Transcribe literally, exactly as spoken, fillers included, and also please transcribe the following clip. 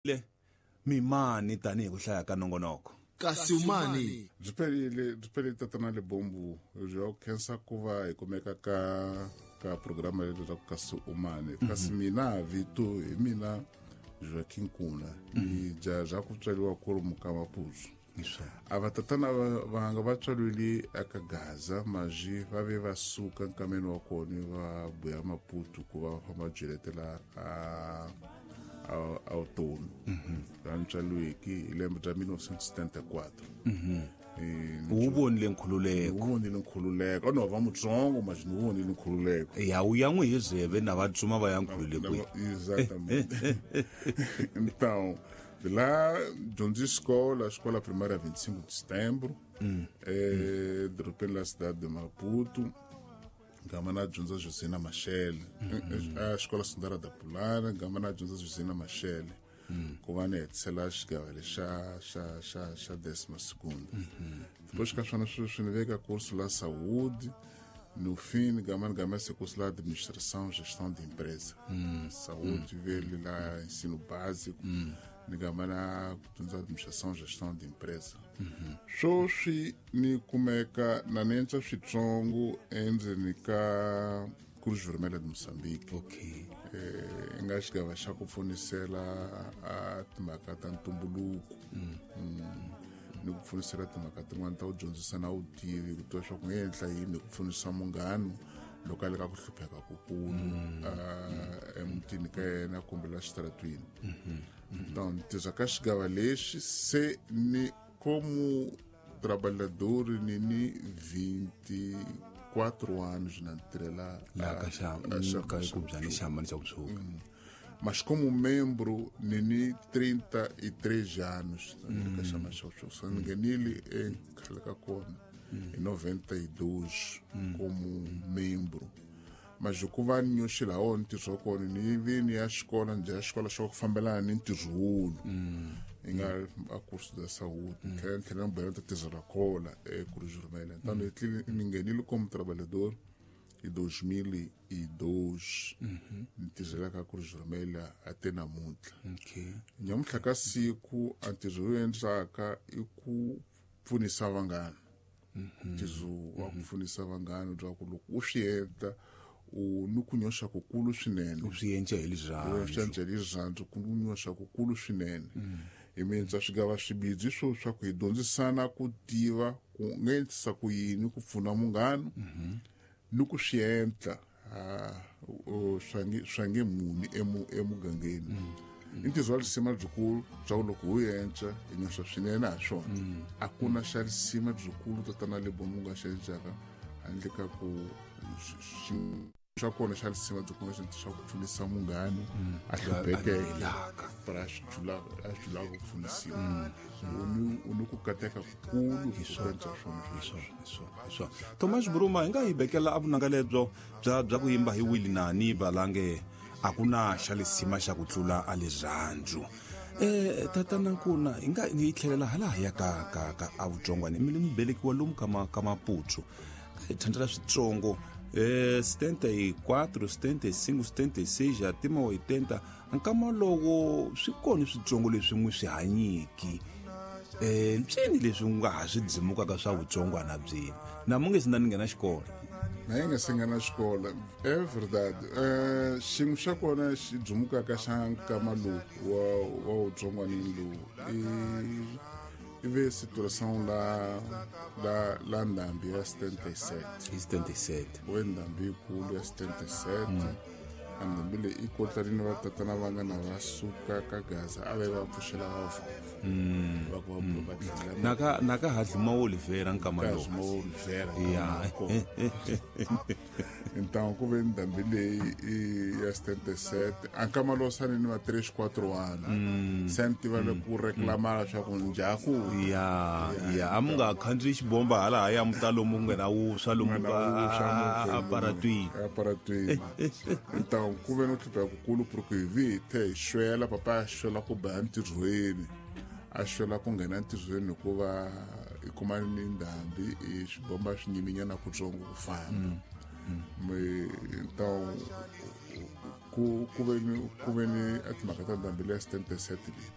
Le mimani tanihi ku hlaya ka nongonoko kasi umani byi phelile byi phelile tatana Lebombo byo khensa ku va hi kumeka ka ka programa leyi leswaku kasi umani kasi mina vito hi mina Joaquim Kuna ni dya bya ku tswariwa ku ri muka Maputo a va tatana vanga va tswariwile eka Gaza maji va ve va suka nkameni wa kona va buya Maputo ku va famba byeletela a a vutomi va ntswariweke hi lembe ra mil novecentos e setenta e quatro wu vonile nkhululeko wu vonile nkhululeko no va mutsongo mas ni vonile nkhululeko ya wu ya n'wi hi zeve na va tsuma va ya nkhululekweni exatamente então de lá dyondzi escola a escola primária vinte e cinco de setembro mm. eh, de repente na cidade de Maputo gama na dyondza Josina Machel a escola secundária da Pulana gama na dyondza Josina Machel ku va ni hetisela xigava lexa xa xa xa décima segunda depois ka swona sweswi ni veka curso la saúde no fim gama gama esse curso lá administração gestão de empresa mm. saúde mm. vele lá ensino básico mm. ni gama na dyondza administração gestão de empresa sweswi ni kumeka na nentswa switsongo endzeni ka Cruz Vermelha de Moçambique okay eh nga xigava xa ku pfunisela a timhaka ta ntumbuluko ni ku pfunisela timhaka tin'wana ta ku dyondzisa na vutivi ku tiva swa ku nge endla yini ku pfunisa munghana loko a le ka ku hlupheka kukulu emutini ka yena kumbe la xitaratwini então ni tirha ka xigava lexi se ni como trabalhador ni ni vinte e quatro anos na tirhela la ka xa ka ku byani xamani xa ku tshuka mas como membro ni ni trinta e três anos ka xamani xa ku tshuka ni nghenile ekhale ka kona em noventa e dois como membro mas ku va ni nyoxela wona ntirho wa kona ni vi ni ya xikola njhe ya xikola xa ku fambelana ni ntirho wulu i nga a curso da saúde tlhela tlhela ni bohela ta tirhela kola eCruz Vermelha então ni nghenile como trabalhador em dois mil e dois ni tirhela ka Cruz Vermelha até namuntlha okay nyamuntlha ka siku a ntirho lowu endlaka i ku pfunisa vanghana ntirho wa ku pfunisa vanghana bya ku loko u swi endla u ni ku nyoxa kukulu swinene u swi endla hi rirhandzu u swi endla hi rirhandzu ku nyoxa kukulu swinene hi mindza swigava swibidzi swo swa ku hi dyondzisana ku tiva ku nga endlisa ku yini ku pfuna munghana ni ku swi endla swa nge muni emugangeni i ntirho wa risima byikulu bya ku loko wu endla hi nyoxa swinene ha swona a ku na xa risima byikulu tatana Lebombo nga xi endlaka handle ka ku xa kona xa risima byi kuma xa ku pfunisa munghana a hluphekeke para a swi julaka ku pfunisiwa u ni ku kateka kukulu hi swona swona Thomas Buruma hi nga hi bekela a vunanga lebyo bya bya ku yimba hi Willie Nani Valange a ku na xa lisima xa ku tlula a rirhandzu eh tatana Nkuna hi nga hi tlhelela hala ya ka ka ka a vutsongwana mi mi velekiwa lomu ka ma ka Maputo hi thandela switsongo eh setenta e quatro setenta e cinco setenta e seis até oitenta nkama loko swi kona switsongo leswi n'wi swi hanyiki eh ntsini leswi nga ha swi dzimukaka swa vutsongwana byini na mu nge si na ni nghena xikolo na yi nga se nghena xikolo é verdade eh xin'we xa kona xi dzumukaka xa nkama lowu wa wa vutsongwanini lowu i i ve situação la la la ndhambi ya setenta e sete hi setenta e sete we ndhambi yikulu ya setenta e sete a ndhambi leyi i kotlarini va tatana va nga na va suka ka Gaza a va va pfuxela va va ku va va tlhela na ka na ka Hadluma Oliveira nkama lowu Hadluma Oliveira ya então ku ve ndhambi leyi ya setenta e sete a nkama lowu sani ni va três quatro anos se ni tiva ku reclamar leswaku njhaku ya ya a mu nga khandziyi xibomba hala haya muta lomu ku nghena wuswa lomu ka aparatwini aparatwini então ku ve no hlupheka kukulu porque hi vi hi the hi xwela papa a xwela ku ba entirhweni a xwela ku nghena entirhweni hikuva i kuma ni ndhambi i xibomba swi nyiminyana kutsongo ku famba então Ku ku ve ni ku ve ni a timhaka ta ndhambi leya setenta e sete leti.